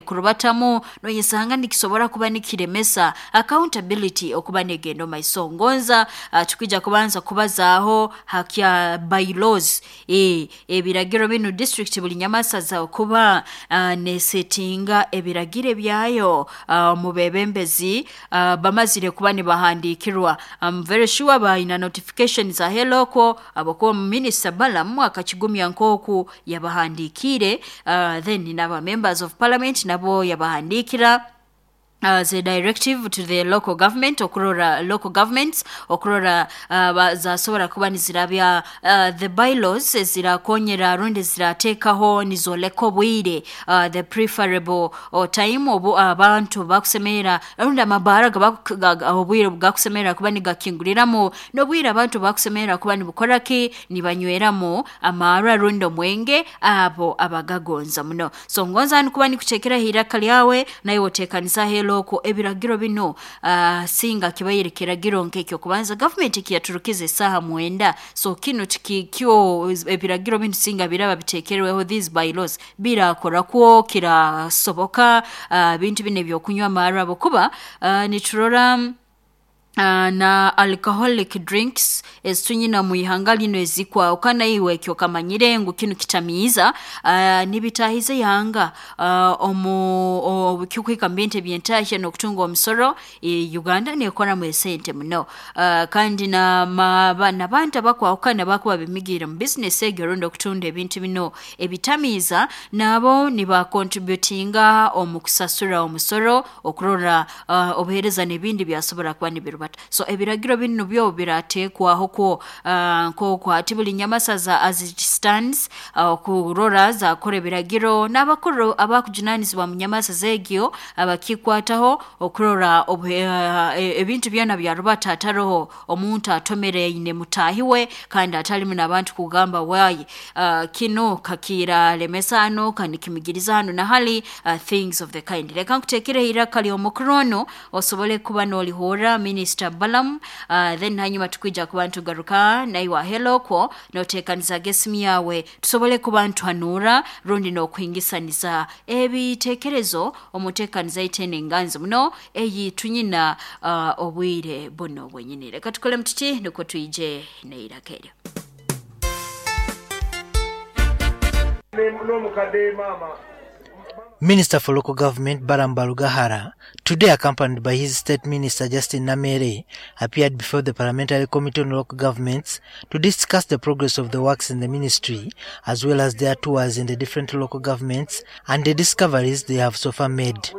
Kurubatamu noyesanga nikisobora kuba nikiremesa accountability okuba negenda omaiso. Ngonza tukwija kubanza kubazaaho hakya bylaws, ebiragiro binu district buli nyamasaza okuba nesetinga ebiragiro ebyayo omu bebembezi bamazire kuba nibahandikirwa. I'm very sure bayina notifications aheloko abokuba Minister Balaam akakigumya nkoku yabahandikiire, then naba members of parliament nabo yabahandikira as a directive to the local government, okurora local governments okurora zasobora kuba nizirabya the bylaws ezirakonyera rundi zirateekaho nizoleka obwire, the preferable time obu abantu bakusemerera rundi amabaara obwire bwakusemerera kuba nigakinguliramu n'obwire abantu bakusemerera kuba nibukora ki, nibanyweramu amaarwa rundi omwenge abo abagagonza muno. So ngonza nikuba nikutekeraho iraka lyawe nawe otekaniza heloko ebiragiro bino, singa kibaire kiragiro nk'ekyo kubanza gavumenti kiyaturukiza esaaha 9. So kino tikikyo ebiragiro bino singa biraba bitekerweho, these bylaws birakora kwo kirasoboka bintu bino ebyokunywa amaarwa abokuba niturora na alcoholic drinks ezitunyina mu ihanga lino ezikwahukana. Iwe ekyo kamanyire ngu kinu kitamiiza, nibitahiza ihanga omu kikuhika mu bintu ebyentahya n'okutunga omusoro. Uganda nekoramu esente muno, kandi n'abantu abakwahukana bakuba bemigiire mu bizinesi egyo rundi okutunda ebintu bino ebitamiiza, nabo nibakontributinga omu kusasura omusoro okurora obuheereza n'ebindi byasobora kuba nibirubata. So ebiragiro binu byo birateekwaho kwo nk'oku hati buli nyamasaza as it stands, okurora zakora ebiragiro n'abakuru abakujunanizibwa mu nyamasaza egyo abakikwataho okurora ebintu byona byarubata ataroho omuntu atomere aine mutaahi we kandi atalimu n'abantu kugamba wayi kino kakiralemesa hano kanikimigiriza hano na hali, things of the kind. Reka nkuteekereho iraka ly'omukuru ono osobole kuba n'olihurra Minister Balaam, then hanyuma tukwija kuba ntugaruka naiwe ahelokwo noteekanizaga esimu yawe tusobole kuba ntuhanura rundi n'okuhingisaniza ebiteekerezo omuteekaniza itene enganzi muno eyi tunyina obwire buno bwenyini. Reka tukole mututi nukwo twije neiraka eryo. Minister for Local Government Balaam Barugahara, today accompanied by his State Minister Justin Namere, appeared before the Parliamentary Committee on Local Governments to discuss the progress of the works in the ministry, as well as their tours in the different local governments and the discoveries they have so far made.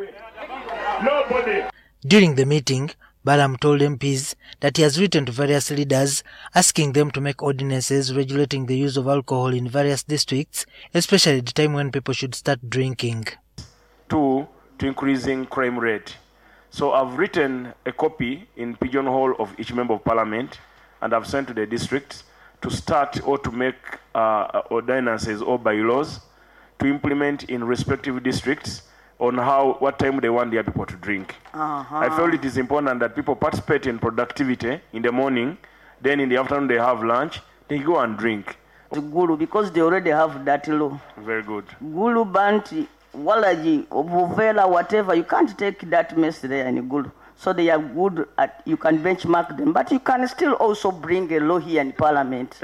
Nobody. During the meeting, Balaam told MPs that he has written to various leaders asking them to make ordinances regulating the use of alcohol in various districts, especially the time when people should start drinking. Two, to increasing crime rate. So I've written a copy in pigeonhole of each member of parliament, and I've sent to the districts to start or to make ordinances or bylaws to implement in respective districts on what time they want their people to drink. I felt it is important that people participate in productivity in the morning, then in the afternoon they have lunch, they go and drink. Gulu, because they already have that law. Very good. Gulu, Banti, Walaji, Buvela, whatever, you can't take that mess there in Gulu. So they are good at, you can benchmark them, but you can still also bring a law here in parliament.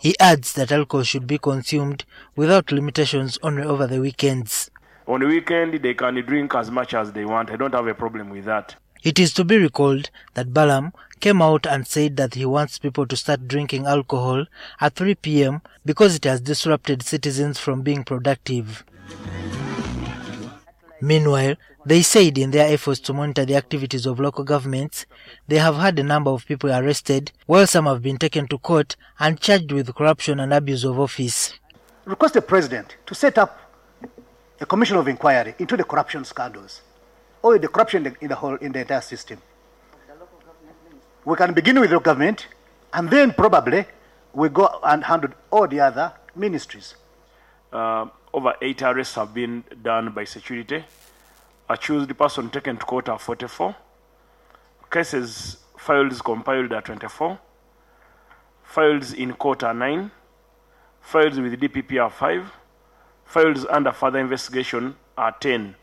He adds that alcohol should be consumed without limitations only over the weekends. On the weekend, they can drink as much as they want. I don't have a problem with that. It is to be recalled that Balaam came out and said that he wants people to start drinking alcohol at 3 p.m. because it has disrupted citizens from being productive. Meanwhile, they said in their efforts to monitor the activities of local governments, they have had a number of people arrested, while some have been taken to court and charged with corruption and abuse of office. Request the president to set up a commission of inquiry into the corruption scandals or the corruption in the entire system. We can begin with the government, and then probably we go and handle all the other ministries. Over 8 arrests have been done by security. Accused person taken to court are 44. Cases files compiled are 24. Files in court are 9. Files with DPP are 5. Files under further investigation are 10.